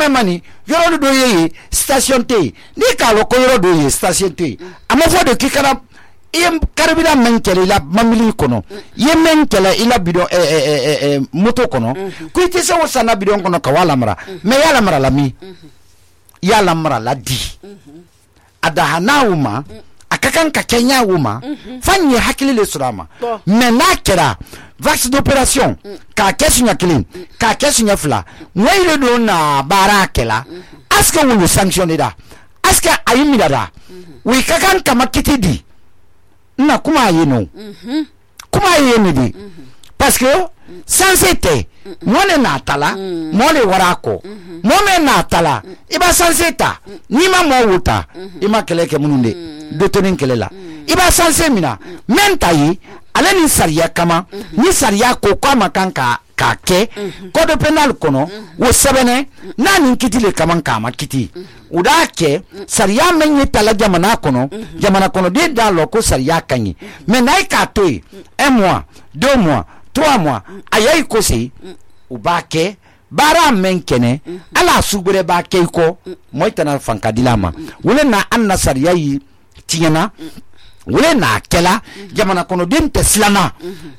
mani yoro do ye station te ni ka lo ko yoro do ye station te ama fo de kikana iyem karbida men kele la mamili kono yemen kele ila bidon moto kono ku ite se wo sana bidon kono ka wala mara me yala mara la mi yala mara la di ada hanawuma akakan ka kenya wuma fanye hakili le surama me na kera vaccin d'opération ka kesunya clean ka kesunya fla moyile do na barakela aska wulu sanctionné da aska ayimida da wi kakan kama kitidi na kuma yeno kuma yeno di parce que sans été mone na tala mole warako mome na tala iba sans état ni ma mo wuta ima keleke mununde dotonin kelela iba sans mina mentayi ale ni sariya kama ni sariya ko kwa kanka ka ke code penal kono wo sebene na ni kitile kaman kama kiti uda ke sariya menye tala jamana kono de da loko sariya kanyi mais nay ka toy 1 mois 2 mois 3 mois ayai ko se ubake bara menkene ala sugure ba ke ko moytana fanka dilama wala na anna sariya yi tiyana wala na kela jamana kono den teslana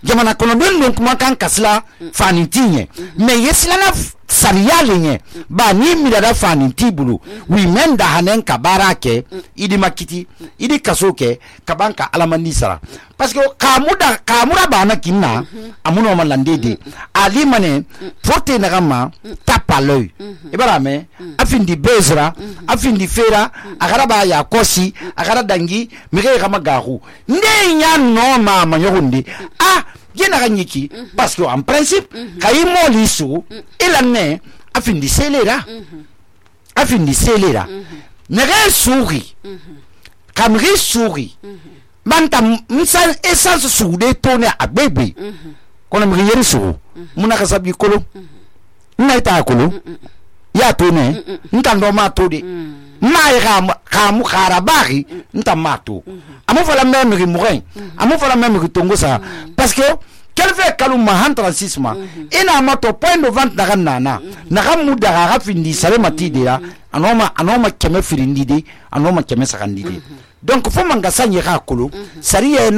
jamana kono den don kuma kan kasla fanintinye me yeslana sariya lenye ba ni midada faninti bulu wi menda hanen ka barake idi makiti idi kasoke kabanka alamandi sara parce que kamura bana kinna amuno malandede ali mane forte nagama tapa l'œil ibarame afindi bezra afindi fera agaraba ya kosi agara dangi mige kama garu nde nya no mama yorundi yena ganyiki parce que en principe kay moli su ilane afindi selera nere souri kamri souri manta msan essence soude tourner a bébé kono mi yeri su muna kasabi kolo naita kolo ya tone ntando ma tode mai kamu karabari ntamato amu fala même morin amu fala même tongo ça parce que quel fait kaluma 136 ma ina mato point de vente daga nana naga mudaga rafindi sare matide ya anoma keme firindide anoma keme sakandide donc fo manga sanye ka kolo sariye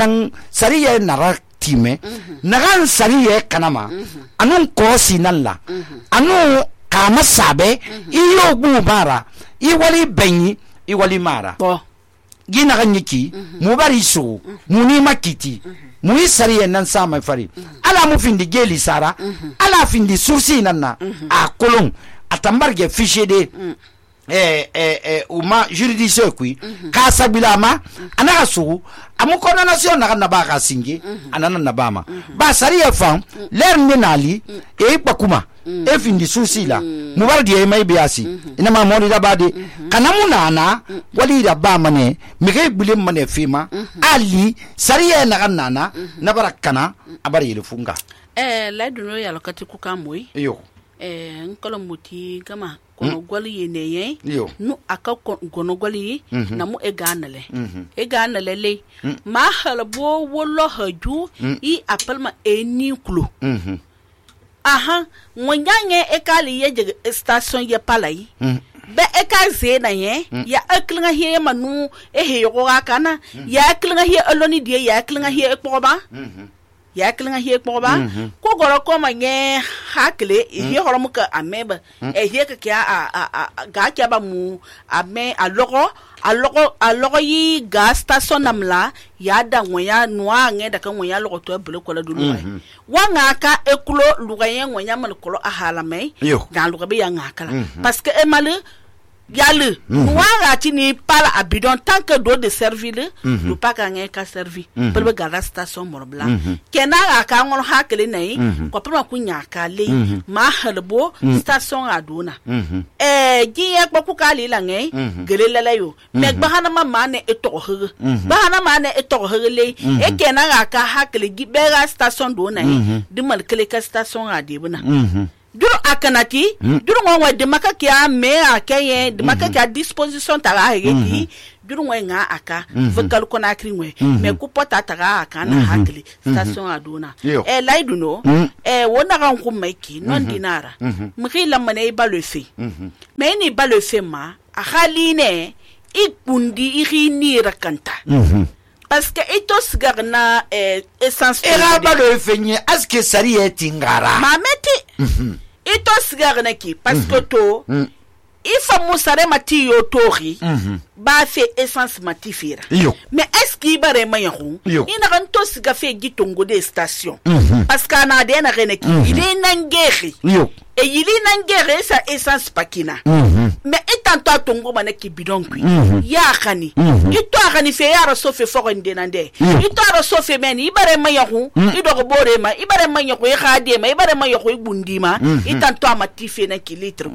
nara time naga sariye kanama anun ko sinalla anu kama sabe iyo bu mara iwali benyi iwali mara gina ganyiki mubari so muni makiti muni sariye nan sama fari ala mu findi geli sara ala findi sursi nanna a kolon atambarge fichier de uma juridiction kui ka sabilama anaka su amu condamnation na ba ka singe anana na bama ba sariye fam ler menali e bakuma e findi sursi la mubardi e mai biasi ina ma mori da bade kanamu nana wali da ba mane mige bule mane fima ali sariye na nana na barakana abari le funga la duno ya lokati ku kamoi yo nkolo muti kama kono gwali yeneye nu aka kono gwali na mu eganale le ma halbo wolo haju I appelma eni kulu aha ngwanyange ekali ye station ye palai be eka zena ye ya eklinga hier manu ehe yoga kana ya eklinga hier aloni die ya eklinga hier ekpoba ya eklinga hier ekpoba ko goro ko manye hakle hier horomu ka ameba ehe ka kya ga kya ba mu ame alogo yi ga station namla ya da ngoya noa nge da kan ngoya logo to bele ko la dulu wa ngaka ekulo lugayen ngoya mal kolo ahala mai ga luga be ya ngaka la parce que emalu yalu noa ga tini pala abidon tant que do de servir le pas ka nge ka servi bele ga la station morbla kena ka ngol hakele nei ko pama kunya ka le ma halbo station aduna giye ko ka le la nge gele la yo me bahana mane etohe bahana mane etohe le e kena ka hakele gi bega station do nei di mal kele ka station adibuna duro akanati duro ngwa de makaki a me akaye de makaki a disposition tara hegi jurun wai nga aka fakal kona kri we me ku pota taga aka na hakli station aduna laidu no wona kan ku maiki non dinara mri lamane ba le fe me ni ba le fe ma a khaline ikundi iri rakanta parce que etos garna essence era ba le fe ni aske sari etingara mameti etos garna ki parce que to ifa musare mati yo tori ba fe essence mati fira mais est-ce qu'il bare mayahu ina kan to siga fe gitongo de station parce que na de na rene ki il est nangeri et il est nangeri sa essence pakina mais étant toi tongo manaki bidon kui ya khani ito khani fe ya rasofe forende nande ito rasofe meni bare mayahu ido bore ma ibare mayahu e khade ma ibare mayahu bundima étant toi mati fe na kilitre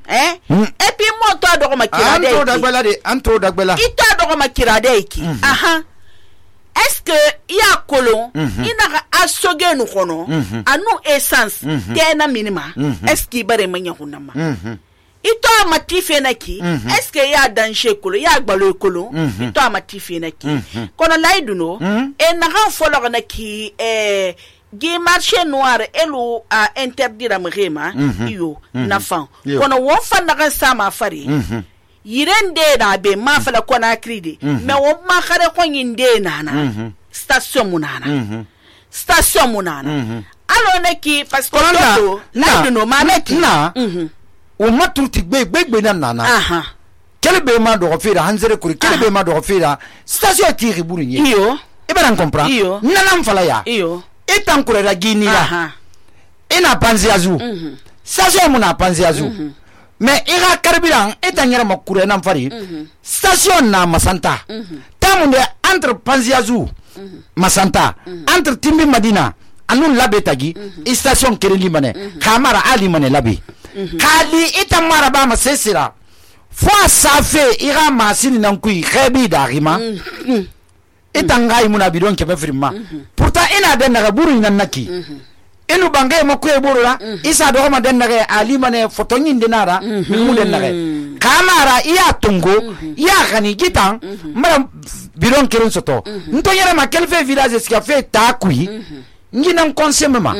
et puis moi toi do ma kirade antro dagbela ito do ma kirade ki aha est-ce que ya kolon ina asoge nu kono anu essence tena minima est-ce qu'il bare manya hunama ito amatife naki est-ce que ya danger kolo ya gbalo kolo ito amatife naki kono laiduno e na ran folo naki gi marché noir elu a interdire mrema iyo na fan kono won fan na sama fari yirende na be ma fala kona kridi me won ma khare ko yinde nana station munana alo neki parce que to na no ma meti na o matuti gbe na nana kele be ma do fira hanzere kuri kele be ma do fira station tiri burinye iyo e ba comprendre nana mfala ya iyo etan kurera gini la ina panzi azu station muna panzi azu mais ira carburant etan yara makure na mfari station na masanta tamunde entre panzi azu masanta entre timbi madina anun labe tagi station kereli mane kamara ali mane labe kali etan mara ba masesira fo safe ira masini nan kui khabi darima etangai muna bidon kebe firma pourtant ina den naga buru ina naki inu bangay makwe buru la isa do ma den naga ali mane foto nyin dinara mu den naga kamara iya tungo iya khani gitan mara bidon kirin soto nto yere ma kelfe village ska fe takui ngina konsema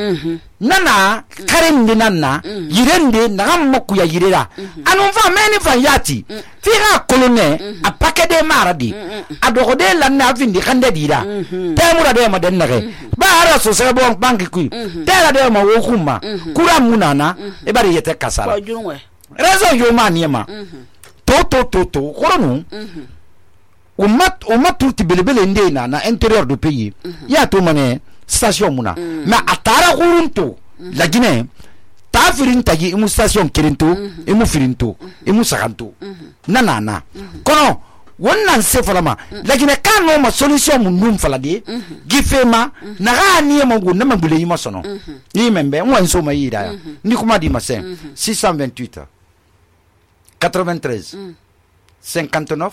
nana karen dinanna yirende naga mokku ya yirera anu fa meni fa yati fira kolone a pakede maradi adogode lanna vindi khande dira temura de ma dennare ba ara so se bon banki ku tera de ma wo kuma kura munana e bari yete kasara raison yo maniema to koronu o mat tout belebele ndena na intérieur du pays ya to mané station muna mais atara kurunto la Guinée ta firinta gi imu station kirinto imu firinto imu saganto nana kono wonnan se falama la Guinée kano ma solution mun falade gifema na gani ma go na mabule yima sono yi membe won so ma yida ni kuma di masen 628 93 59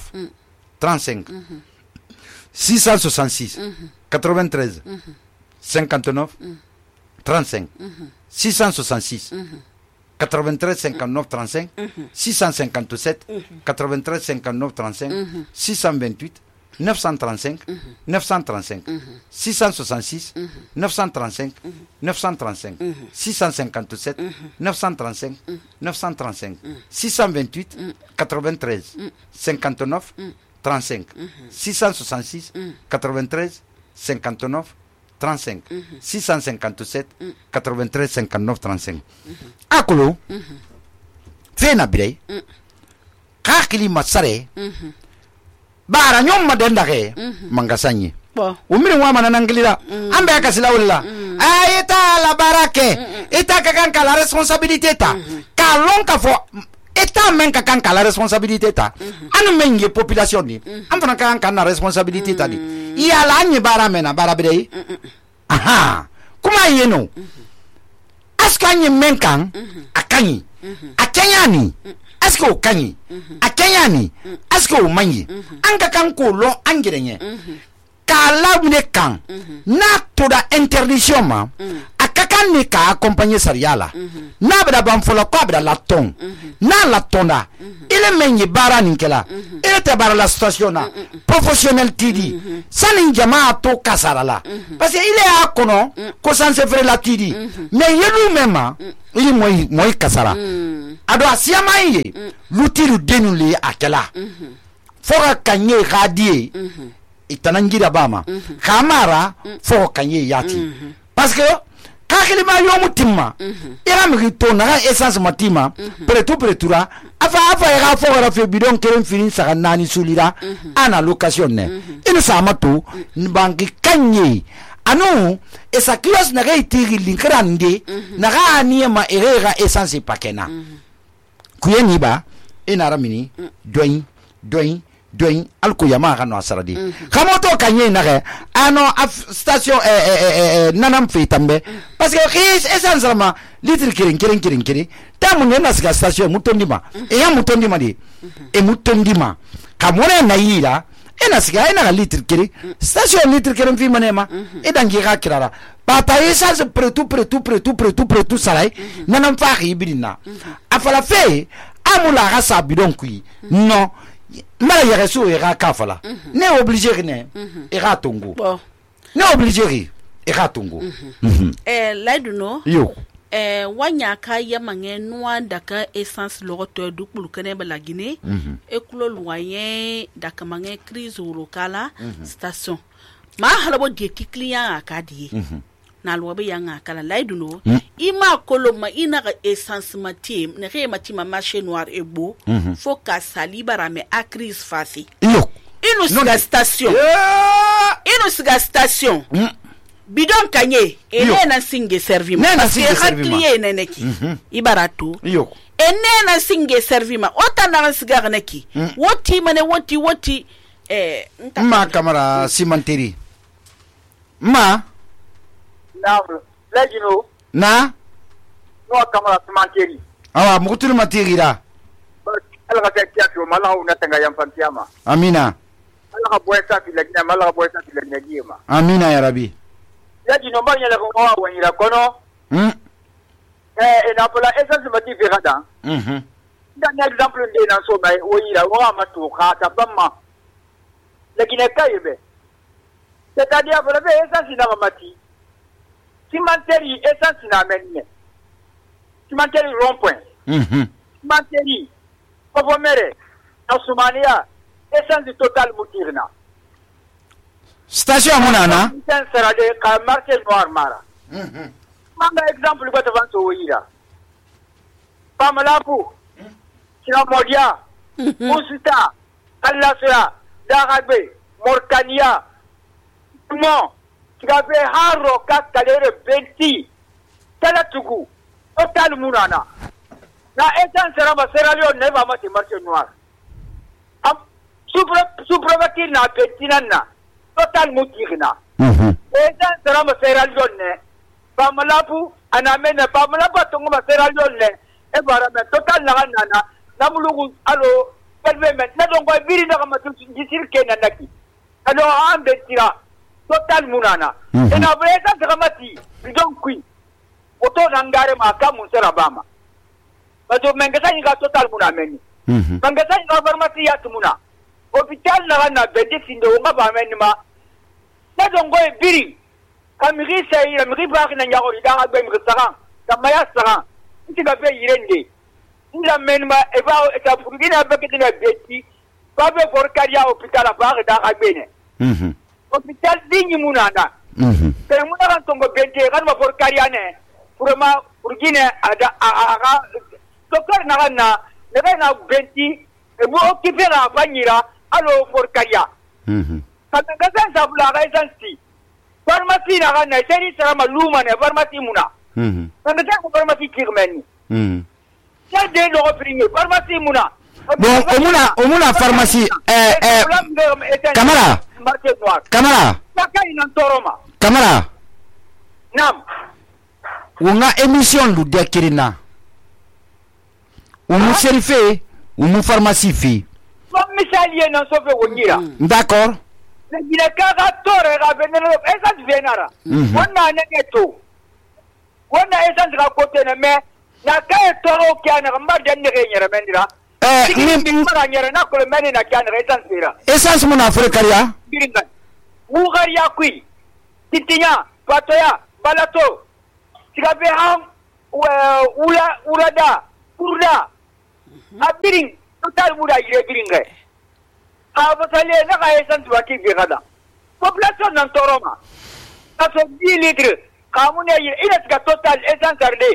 35 666 93 59 35 666 93 59 35 657 93 59 35 628 935 935 666 935 935 657 935 935 628 93 59 35 666 93 59 35 657 93 59 35 akolo fena bire kakili masare bara nyom madendage mangasanye umiri wa manana ngilira ambe akasila wala ayeta la barake eta kakan la responsabilité ta kalon ka fo eta men kakan la responsabilité ta anu mengi population ni amfana kakan na responsabilité ta ni iya la nyi bara mena bara bire aha kuma yeno askanyi menkan akanyi akanyani asko kanyi akanyani asko manyi anga kan ko lo angirenye kala mune kan na to da interdiction ma akaka fanni ka accompagner sariya la n'a bɛ ban fɔlɔ ko a bɛ la tɔn n'a la tɔnda ile men ye baara nin kɛla ile tɛ baara la station na professionnel tidi sani jama to kasara la parce que ile y'a kɔnɔ ko sanse fere la tidi mais yelu même ma ili moyi kasara ado asiyama ye lutiru denu le akela fora kanye radie itanangira bama kamara fo kanye yati parce que kakilima yomu timma ira mi to na essence matima pretura afa ira fo ra fe bidon keren filin saka nani sulira ana location ne ina sama to banki kanye anu esa kios na ga itiri linkrande na ga aniema erega essence pakena kuyeni ba ina ramini doin alko yama ga no asaradi kamoto kanye na ga ano station nanam fe tambe parce que essence rama litre kirin tamu ne na station mutondima ya mutondima di e mutondima kamone na yira ena siga ena litre kirin station litre kirin fi manema e dangi ga kirara pata essence pretu salai nanam fa hibirina afala fe amula ga sabidon kui no mala yere so era kafala ne obligé ne era tongo ne obligé era tongo laiduno yo wanya ka yamange noa daka essence logoto du pulukane balagine e kulo loyen daka mange crise locale station ma halabo de client akadi na lobe yanga kala laiduno ima koloma ina ga essence matim ne re matima marché noir e beau faut ka salibara me a crise fasi yo ino siga station bidon kanye na singe servima parce que hakliye neneki ibaratu yo na singe servima otana siga neki woti mane woti ma camera cimenterie ma Legino. Na? No kamera cimenterie. Awa mukutulu matirira. Ala ka tiato mala una tanga yamfantiama. Amina. Ala ka boyesa filagina mala ka boyesa filagina giema. Amina ya Rabbi. Legino banya la ko wa wanyira kono. Na pola essence mati verada. Dan exemple de na so mai oyira wa matu ka tabamma. Legina kayebe. C'est-à-dire pour le essence na mati. Cimenterie essence na menye. Cimenterie rond-point. Cimenterie Povomere na Somalia essence total mutirna. Station monana. Essence sera de ka marché noir mara. Manga exemple ko tavanso woira. Pamalapu. Sina Modia. Musuta. Kallasra. Darabe. Morkania. Mon gabe haro ka kalere benti tala tugu total munana na essence raba Sierra Leone ne ba mati marché noir am suprovati na benti nanna total mutirina essence raba Sierra Leone ne ba malapu anamene ba malapu tongo ba Sierra Leone ne e bara me total na nana na mulugu alo permet na dongo biri na kama tusir kena naki alo am betira total munana ena bresa dramati bidon kui oto nangare maka munsera bama bato mengesa inga total munameni mengesa inga farmasi ya tumuna hospital na bende sindo nga bameni ma na dongo e biri kamiri sei na miri baki na nyagori da agbe miri saran kamaya saran ntiga be yirende nda menma e ba eta furugina be ketina beti ba be for karia hospital ba da agbe ne hospital dingi munana kaya muna kan tongo bente kan ma for kariane purema urgine ada aga doktor na kana na benti e mo kifera banyira alo for karia kan ga san sabula ga santi pharmacie na kana seri sara maluma ne pharmacie muna kan ga ko pharmacie kirmeni ya de lo opringe pharmacie muna bon omuna pharmacie Kamara Kamara Nam Unga émission lu dekirina Umu serife Umu pharmacie fi misaliye na sofe wongira D'accord Gina kaga tore ga benero esa venara Wonna negeto wona essence ga kote na me na kay toro kya na mba den ne nyere mendira ni mara nyere na ko meni na kya na essence bira essence mun afrikaria biringa ugaria kui titinya patoya balato sigabe ham urada urda abiring total muda yire biringa abasale na ka essence waki bi gada population nan toroma kaso 10 litres kamune ina tiga total essence arde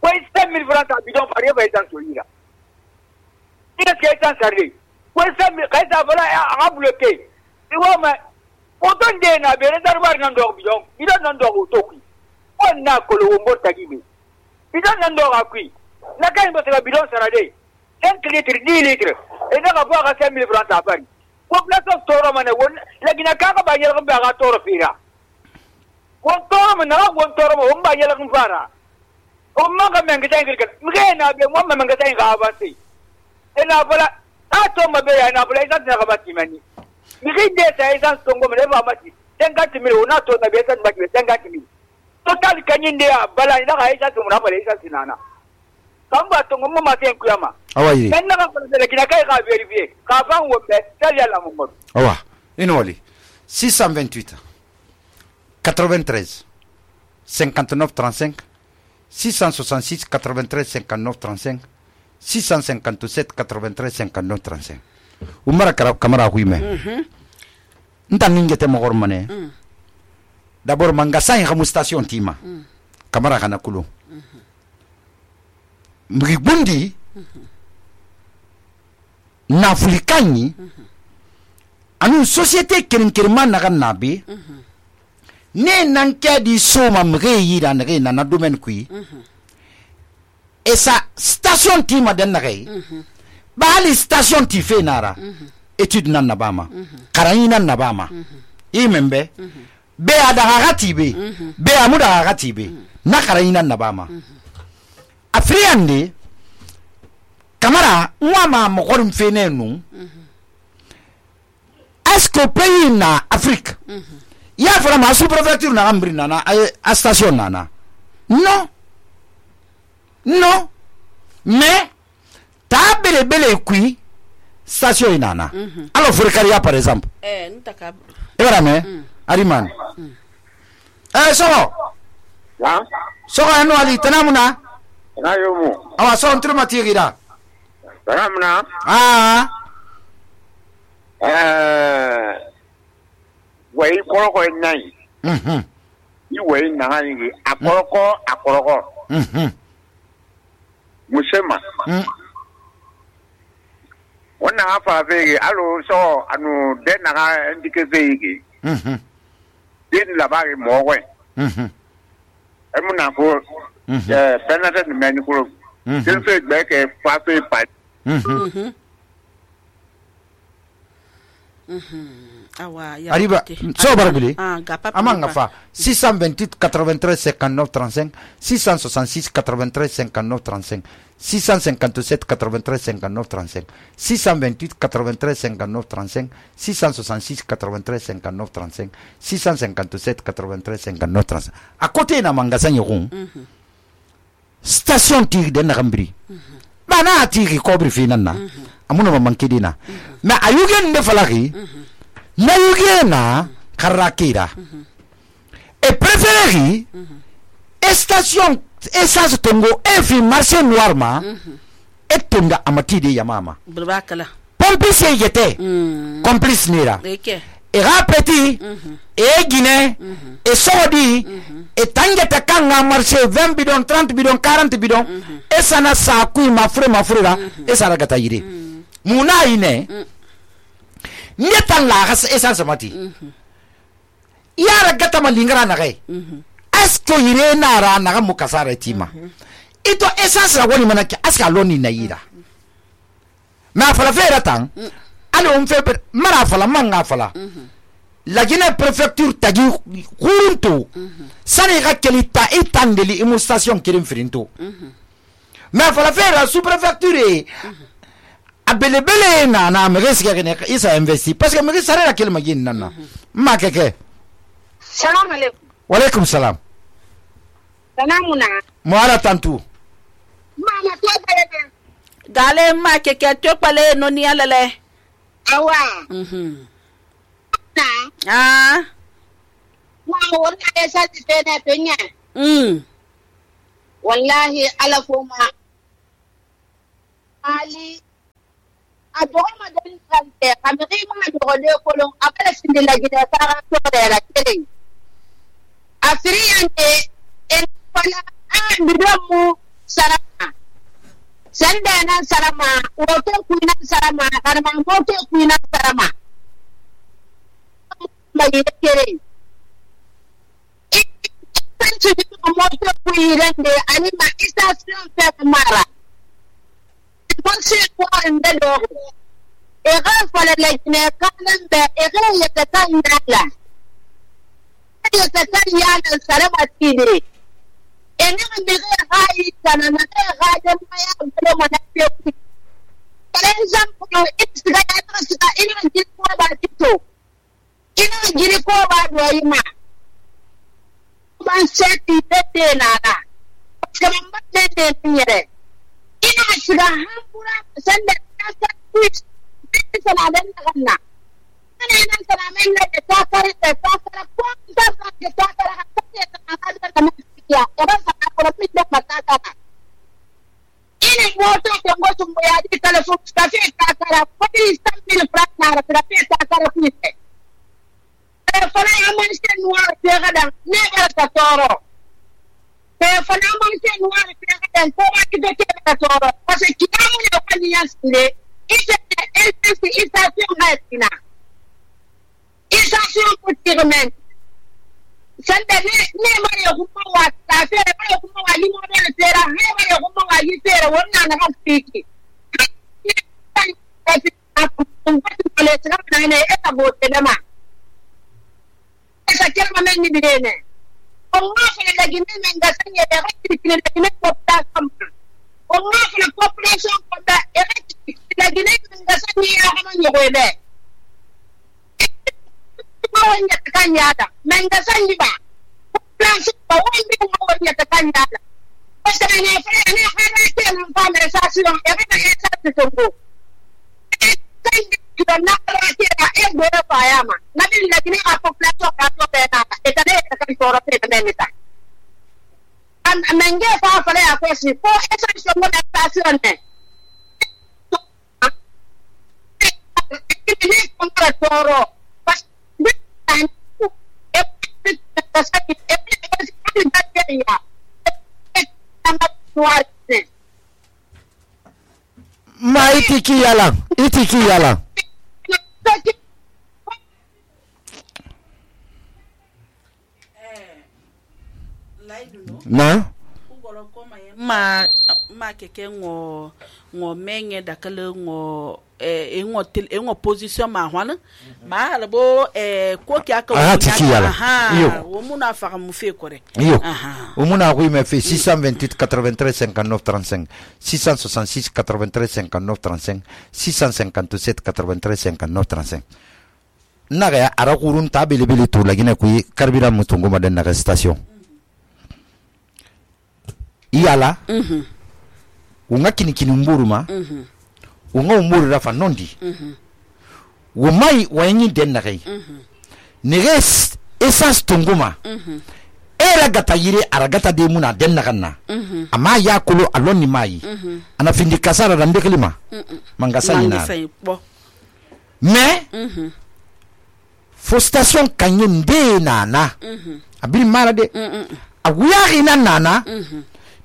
ko 5000 francs a bidon pare ba essence solira ina tiga essence arde ko 5000 kaisa bala a bloqué iwa ma oton de na be reservoir nan do bidon nan do to ku on na ko lo mbo tagibe bidon nan do akui na kai ba tiga bidon sarade 5 litres 10 litres ina ka bo ka 5000 francs a pare population toroma ne won lagina ka ba yel ba ga toro fira won toro na won toro mo ba yela kun fara o ma ga men ga tan girka mge na be mo ma men ga tan ga avanti ina bala a to ma be ya na bala ina ta ga bati mani mge de ta ina to ngo me ba mati den ga ti mi na to na be san ba ki den ga ti mi to tal kanyin de bala ina ga isa to na bala isa sinana kan ba to ngo ma ten kuyama awayi men na ga ko de kina kai ga verifier ka fan wo be tal ya la mo mo awa inoli 628 93 59 35 666 93 59 35 657 93 59 35 umara kamara huime ntangingete mogor mane d'abord mangasa in khamu station tima kamara kana kulo mribundi na afrikani anu société kerenkerman naga nabe ne nan kya di soma mge yira nage na domaine kui esa station ti ma den nage bali station ti fe nara étude nan nabama karani nan nabama imembe be ada hagati be amuda hagati be na karani nan nabama afriande kamara mwama mokorum fe nenu est-ce que pays na Afrique il y a vraiment sous-préfecture na ambri nana a station nana non mais ta bele kui station nana alors Furekaria par exemple ntaka Ariman so ya so eno ali tanamuna na yomo awa so ntruma tigira tanamuna wei koroko nai ni wei na ngi akoroko musema wona afa vege alo so anu de na ndike vege din la bari mowe emuna ko penate ni meni ko din fe gbe ke fa fe pa arriba so barbili amanga fa 628 93 59 35 666 93 59 35 657 93 59 35 628 93 59 35 666 93 59 35 657 93 59 35 à côté na magasin yoron station tir de Nagambri bana tiri kobri finana amuna mamankidina mais ayugen de falaki na yugena karakira et préféré station essence tongo efi marché noir ma et tonga amati de yamama burbakala pompier yete complice nira et rapeti et Guinée et Saudi et tangeta kanga marché 20 bidon 30 bidon 40 bidon et ça na sa kui ma frère et ça ragata yiri muna ine netan la gas essence mati yara gata malingara na gai asko yire na ra na mu kasara tima ito essence la woni manaki aska loni na yira ma fala fera tan ale on fait mara fala manga fala la Guinée préfecture tagi kurunto sani ga kelita itandeli imu station kirim firinto ma fala fera sous préfecture abelebele na mreski kene isa investi parce que mreski sare la kelma yin nana ma keke salam alaikum wa alaikum salam Sanamuna. Moara tantu. Mama to bele. Gale ma keke to pale no ni alale. Awa. Na. Ah. Wa wona esa ti pena penya. Wallahi ala foma. Ali adoma den kante kameri ma dole kolon akala sindila gida tara to da kele. Afriyante en pala bidomu sarama. Sandana sarama, wote kuina sarama, karma wote kuina sarama. Magi kere. Tantu moto kuirende anima station fe mara. Bonse ko ende do. Ega fala lejne kanande ega yekata indala. Yekata yana sarama tide. Ena mbege hai kana na ga maya bele mana pe. For example, it's the guy ina jiri ko ba tito. Ina jiri ko ba do yima. Ban seti tete nana. Kama tete nyere. Ina shiga hambura sanda ta twitch. Sana dan kana. Ana sana men da ta kare ko ta kare ta ya eba sana ko pide matata ini moto ko ngoto ya di telefon kafe takara podi stambil prakara kafe takara pite telefon aman se noir pega dan ne ga toro telefon aman se noir pega dan ko ma ki de toro parce que kiamu ne ko ni yasle ite station hatina station putirmen sanda ne mare kuma wa tafe mare kuma wa limo ne tera ne mare kuma wa yi tera wannan na hafiki ne eta bote dama esa kelma men ni bidene Allah fa la gine men ga sanya da hakki kine da kine ko ta kampa Allah fa la population ko da da gine men ga sanya ya haman yo be wanya takanyada menga sanyi ba plan ba wanda wanya takanyada basta ne fere ne fere ke nan fa me station e ba ke sa tsongo sanyi kido na ra ke da e go ba yama na bin la gine a population ka to be na e ta ne ta kan toro te ne ta an menge fa fere a ko si ko e station mo na station ne ne ko ta toro ma itiki yalan na ma keke ngo menye dakale ngo ngo position ma hwana ma halbo ko kya ka wo muna fa mu fe kore wo muna ko me fe 628 93 59 35 666 93 59 35 657 93 59 35 naga ara kurun tabele bele to lagina ku karbira mutungo madan naga station iyala unga kini mburuma unga umburu rafa nondi wumai wayenyi den na kai neges esas tunguma era gata yire aragata de muna den na kanna ama ya kulu aloni mai ana findi kasara da ndeklima mangasa ina me fo station kanyin de nana abiri mara de aguya ina nana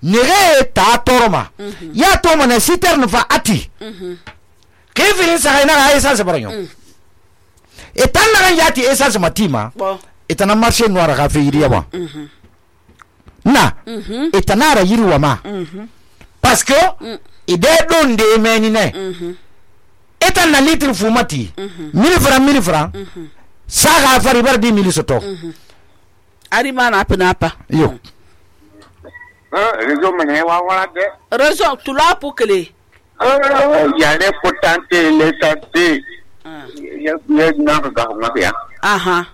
nere ta toroma ya to mana siterne fa ati kefin sa ina ga essence baranyo etan na yati essence matima etana marché noir ga fe iriya ba na etana ra yiriwa ma parce que ide don de menine etan na litre fumati 1000 francs sa ga fari bar 10 soto ari mana apa yo réseau mene wa wala de réseau tu la pour que les il y a les potentiels les santé ya na ga ma ya aha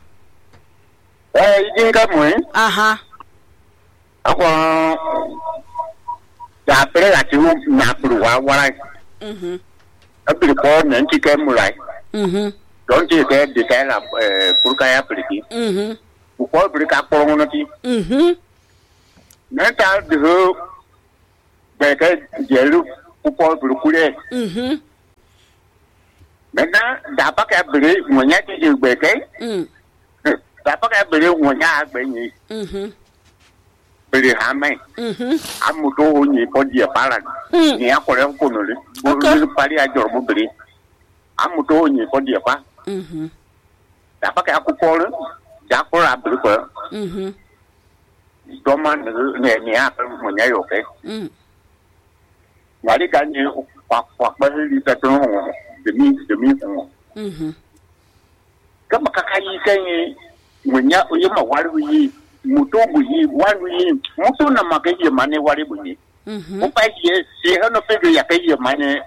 inga mo aha ako da pre la ti na pro wa abiri ko nan ti kai murai don ti ke de kai la purka ya priti ko biri ka ko ngono ti na ta de be ka jelu ko biri kure maintenant da pa ka biri mo nya ti de be kai da pa ka biri mo nya be ni biri ha mai amuto ni ko dia pala ni akore ko no le bo pari a jor bo biri amuto ni ko dia pa da pa ka ko ko da ko ra biri ko do man ne a mo nya yo ke ngari kan ni kwa ba li ta to demi ko kama kakai kai mo nya o yema waru yi muto buyi waru yi muto na makaye mane wari buyi o pa ye se hano pedo ya kai mane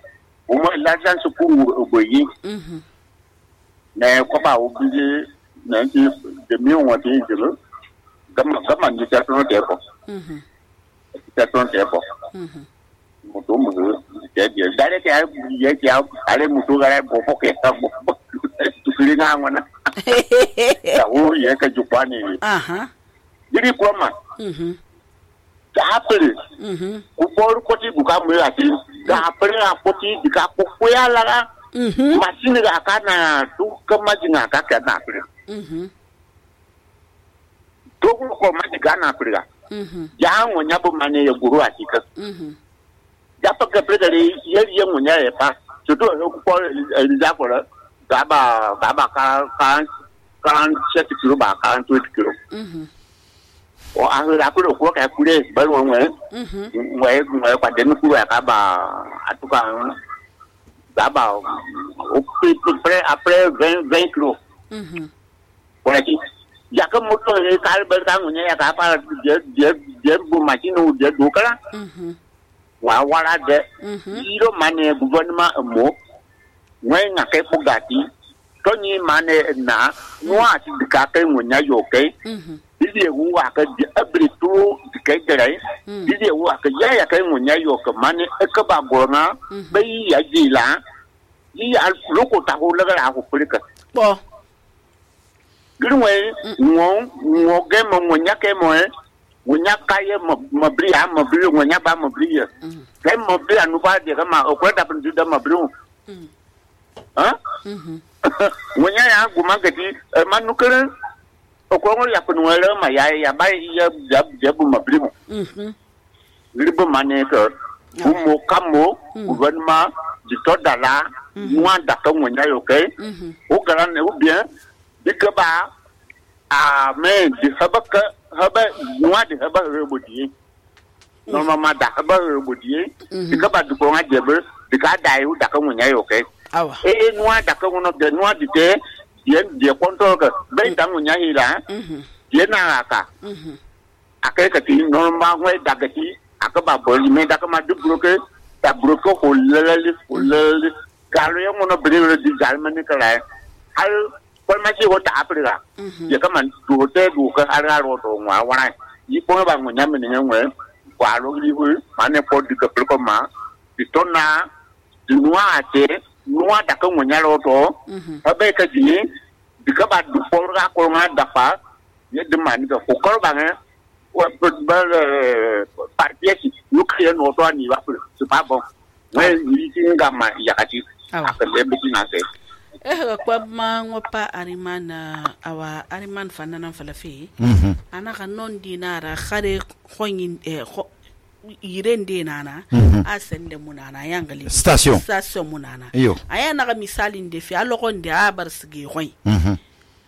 o mo la jan su ku buyi na ko ba o bije na ti de mi won ti jelo kama ni ta to de ko ta to de ko muto mo de de dare ke ye ke ale muto gara bo ko ke ta bo tu kiri nga ngona ta o ye ka jupani Diri kwama. Tapere. Kupor koti buka mwe ati. Tapere apoti dika kukuya lara. Masini ga kana tu kamaji nga kaka na apere. Togu ko maji ga na apere. Ya ngonya bo mane ya guru atika. Ya pa ka preda le ye ngonya e pa. Tutu ko za ko la. Gaba kan 7 kilo ba kan 20 kilo. O ahura ko ko ka kure ba wo ngwe kwa den ku ka ba atuka ba o pre après 20 kilos wala ki ya ka moto e ka ba ka ngunya ya ka pa je bu machine o je do kala wa wala de iro mane gouvernement mo ngwe nga ke pugati to ni mane na no ati ka ka ngunya yo ke Didi wa ka abri tu kai dai didi wa ka ya kai munya yo ka mane ka ba gona bai ya jila yi al loko ta ho la ga ho plika bo girwe ngo ge mo munya ke mo munya ka ye mo bri munya ba mo bri ya kai mo bri anu ba de ma o ko da pun da mo bri ha munya ya guma gadi manu kere Okongo ya kunwele ma ya ba ya bu mabrimo libo maneka umo kamo gouvernement di todala mwanda ka ngonya yoke o garane ou bien dikaba a men di haba mwadi haba rebodi normalement da haba rebodi dikaba du ko ngajebe dikada yu da ka ngonya yoke awa nwada ka ngono de nwadi te dia kontrol ke ben tangu nyahi la dia na aka akai ka ti normal ngwe dagati aka ba boli me daka ma du bloke ta bloke ko lele kalo yang ngono beri di jalman ni kala hal ko ma ci wota aprika ya ka man du te du ka ara ro to ngwa wana yi ko ba ngo nyame ni ngwe kwa lo li hu mane ko di ka ko ma di tona di nuwa ate nuwa da kan wanya roto abe ka ji dika ba du porga ko ma dafa ye de man ko ko ba ne wa ba parti yu kriye no to ani ba c'est pas bon mais ni tinga ma ya kati akale bi na se kwa ma ngopa arimana awa ariman fanana falafi ana ka non dinara khare khonyin irende nana asende munana yangali station munana aya naga misali ndefi alogonde abar sigi hoy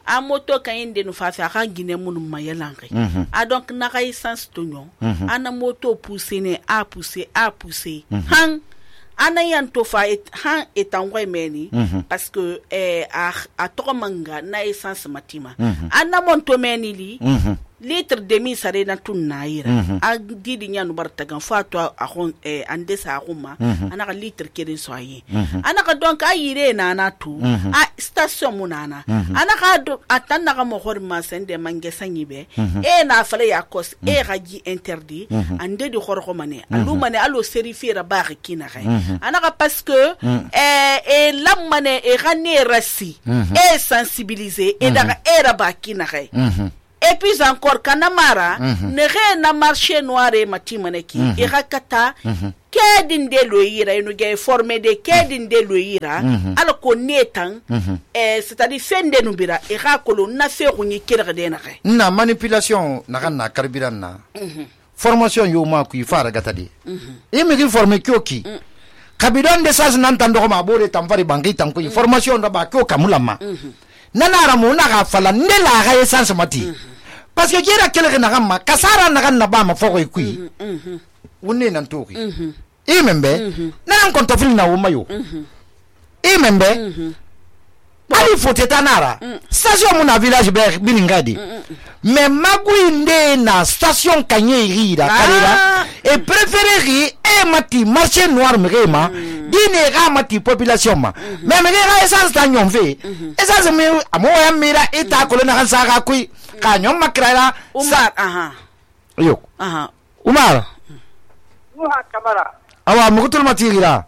a moto kayende no fafa ka gine munu mayelange a donc naga essence tonyo ana moto pousser ne a pousser han ana yanto fa han etangwa meni parce que a to manga na essence matima ana monto meni li litre demi sare na tun na yira a didi nya no bartagan fa to a hon ande sa huma anaka litre kelen so ayi anaka donc a yire na na tu a station munana anaka do atanna ga mo hor ma sende mange sanyi be e na fale ya kos e gaji interdit ande di horko mane alu mane alo serifira ba kina ga anaka parce que e lamane e gane rasi e sensibiliser e daga era ba kina ga. Et puis encore, Kanamara, ne rien na marché noir et matimaneki, et rakata, kedin de loira, et nous avons formé des kedin de loira, alors qu'on est c'est-à-dire fin de nubira, et rakolo, n'a fait rouni kirdenare. Na manipulation, na karibirana. Formation yoma qui fara gatadi. Et me formé kyoki. Kabidon de sas n'entendons ma bore tamfari bangi tanko, formation d'aba kyo kamulama. Nanara mo na fala nela ga essence mati. Parce que jera kele na gamma kasara na ganna ba ma fogo ikui wonne nan toki imembe nan konto fili na womayo imembe ali fote tanara station mon village be bilingadi mais maguinde na station kanye rira kalera et préférer e mati marché noir mrema dine ga mati population ma mais me ga essence ta nyom fe essence me amoya mira eta ko na kansa ga kui ka nyom makrara Umar yo Umar Kamara awa mukutul matira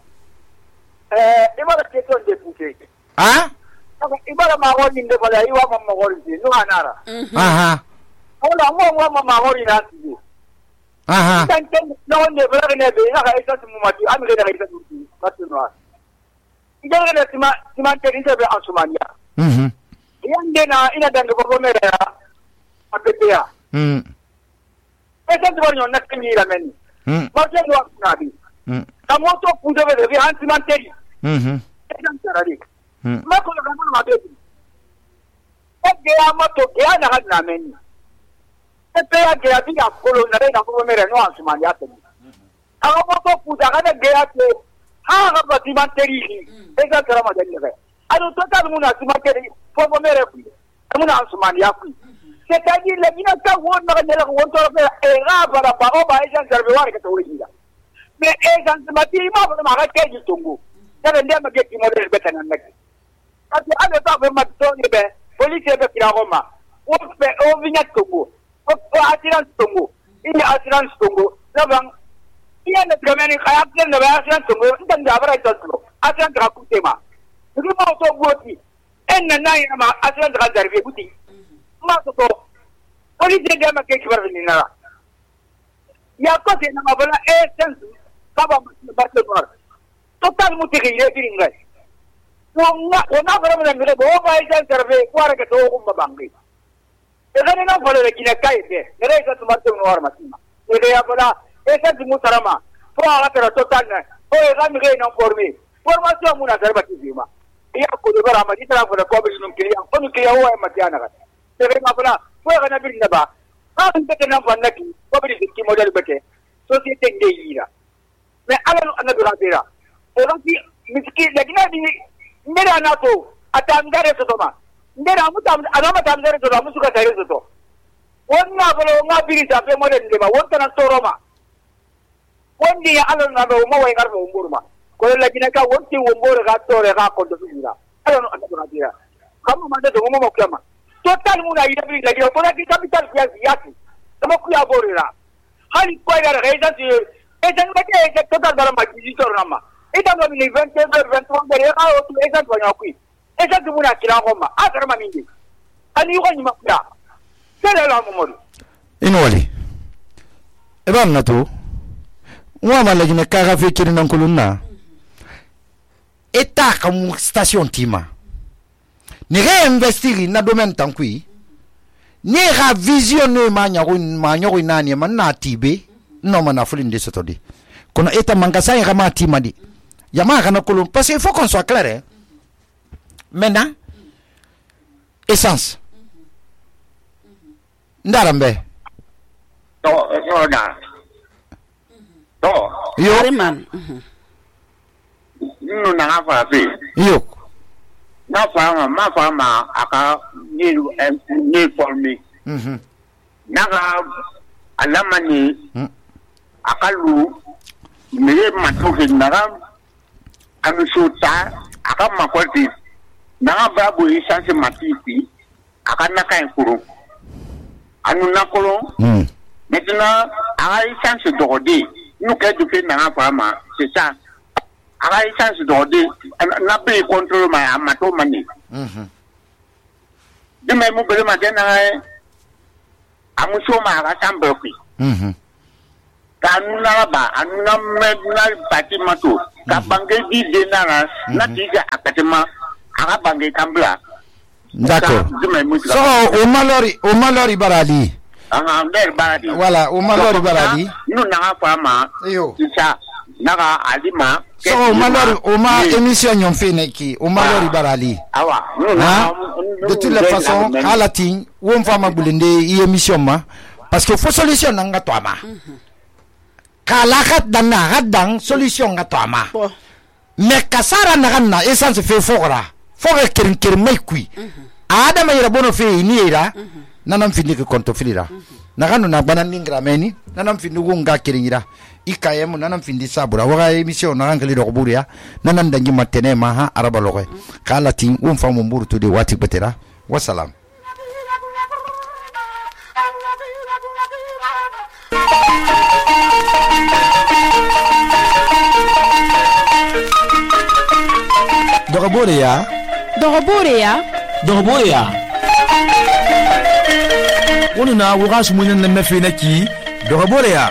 ibara keton de puke ibara magori nde bala iwa mama magori no anara ola mama magori na ti tanten no ne bala ne be na ka isa mu mati am ga da isa tu mati no ida ga tima te ni be ansumania yande na ina danga bobo mere ya apetea esa tu bonyo na kini la meni ma je do na bi kamoto pudo be be antimanteri esa tarari ma ko ga ma be ge amato ge ana ga na meni pe ya ge abi ya ko na re na bobo mere no ansumania te kamoto puda ga ge ya te ha ga antimanteri esa tara ma de ge alo total muna antimanteri bobo mere ku muna ansumania ku c'est-à-dire les gens qui ont mais Mato police de ma ke kibarina ya ko te na mabala essence kaba Barcelona total mutigire biringa ona bara na mire bo ba isa serve kwara ke to umba bangi e gane na fole kina kai te ere ka tumarte no arma tima e ya bala essence mutarama po ala tera total na o e ga mire na formation muna serba tizima ya ko de bara ma ditara ko ko be num kiriya ko nu kiriya o e matiana ga tere ma bala fo ga na bir na ba ha nte na fa naki ko bi ki model bete société ndeira mais ala na bi rabira o ranti miski lagina di ndera na to atangare to ma ndera mutam anama tamdare to musu ka tare to wonna balo nga biri sa pe model de ba wonta na to roma wondi ya ala na do mo way garbo umburma ko lagina ka wonti umbur ga to re ga ko do bira ala no na rabira kama mande do mo mo kama total muna ida bi lagi ko lagi capital yaki sama ku ya borira hali ko ya reisa ti e jan ba ke total dara ma ji to rama e da no ni 20 23 de ya o tu e jan ba ku e jan muna kila ko ma a dara ma mindi ani ko ni ma ya sele la mo mo inwali e ba na to wa ma lagi ne ka ga fe kirin nan kulunna eta kam station tima ni réinvestir na domaine tankui ni ra visionner ma nyago nani man na tibe no mana fulinde sotodi kono eta mangasa ya ma timadi yama kana kolon parce qu'il faut qu'on soit clair hein? Maintenant essence ndarambe yo man no na fa fi yo ma fama aka ni former naga alamani akalu mere matoke naga anusuta aka makwati naga babu isanse matiti aka naka enkuru anu nakolo maintenant aka isanse dogode nous qu'est du fait naga fama c'est ça aka isanse dogode na be contrôle ma amato mani de même mu bele matena amuso ma aka sambe ki kanuna ba anuna medna batimato ka bange di denara na tiga akatema aka bange kambla. D'accord. So o malori barali barali voilà o malori barali nous na fama yo ça naga alima so o ma émission ñom fene ki o malori barali awa de toutes les façons halatin won fama bulinde i émission ma parce que faut solution nga to ama kala khat dan hadang solution nga to ama mais kasara na essence fe fogora foga kirin mai kui adama ira bono fe ni ira nanam findi ke konto filira naganu na banan ningra meni nanam findi gunga kirin ira ikayemu nanam findi sabura waga émission na ngali do buria nanan dangi matene ma ha araba loxe kala tin famu mburu to de wati betera wassalam. Dogoboreya wonu na wuga sumunya na mefena ki Dogoboreya